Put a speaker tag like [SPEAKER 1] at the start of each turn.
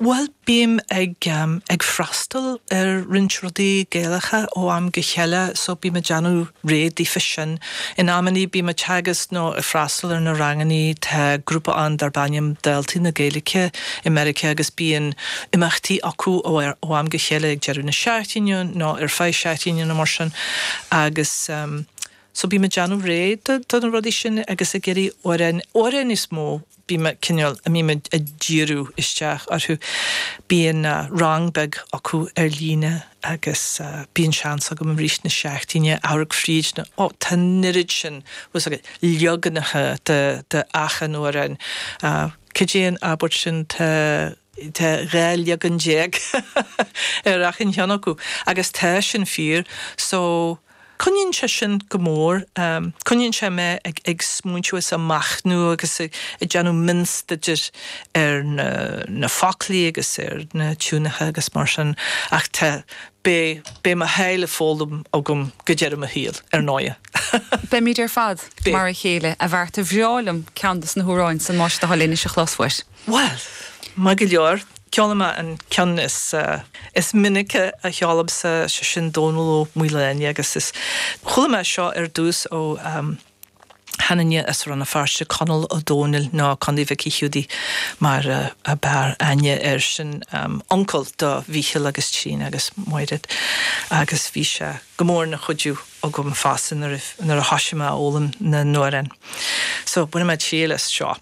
[SPEAKER 1] Bhuel, bím ag ag freastal ar roinnt rudaí Gaelacha ó am go chéile so bím ag déanamh réidh daofa sin. In amannaí bím ag teagasc nó ag freastal ar na rangannaí, tá grúpa ann darb ainm Daltaí na Gaeilge i Meiriceá agus bíonn imeachtaí acu ó am go chéile ag deireadh na seachtaine nó ar feadh seachtaine nó mar sin agus so bím ag déanamh réidh do na rudaí sin agus ag iarraidh amhráin, amhráin is mó bím ag cineál, a mbím ag díriú isteach orthu. Bíonn rang beag acu ar líne agus bíonn seans agam i rith na seachtaine amharc fríd na, ó, tá an oiread sin, bhfuil 's agat, leaganacha de, de achan amhrán. Cad é an abairt sin, tá, tá 12 leagan ar achan cheann acu agus tá sin fíor. So. Coinníonn sé sin go mór, coinníonn sé mé ag smaointiú is ag machnamh agus ag déanamh mionstaidéir ar na foclaí agus ar na tiúnacha agus mar sin ach tá, beidh, beidh mo sháith le foghlaim agam go deireadh mo shaoil, ar ndóighe.
[SPEAKER 2] Beimid ar fad mar a chéile, a Mharta. Bhreá liom ceann dos na hamhráin san más do thoil é anois a chlos uait.
[SPEAKER 1] Bhuel, maith go leor. Ceolfaidh mé an ceann is is minice a cheolaimse, sé sin Dónall Ó Maoláin agus is chuala mé seo ar dtús ó sheanduine as Rann na Feirste, Conall Ó Dónaill nó Condaí Mhicí Hiúdaí mar a b'fhearr aithne air, sin uncail do Mhícheál agus Tríona agus Máiréad agus bhí sé go mór ina chuidiú agam fosta nuair a thoisigh mé a fhoghlaim na n-amhrán. So bainfidh mé triail as seo.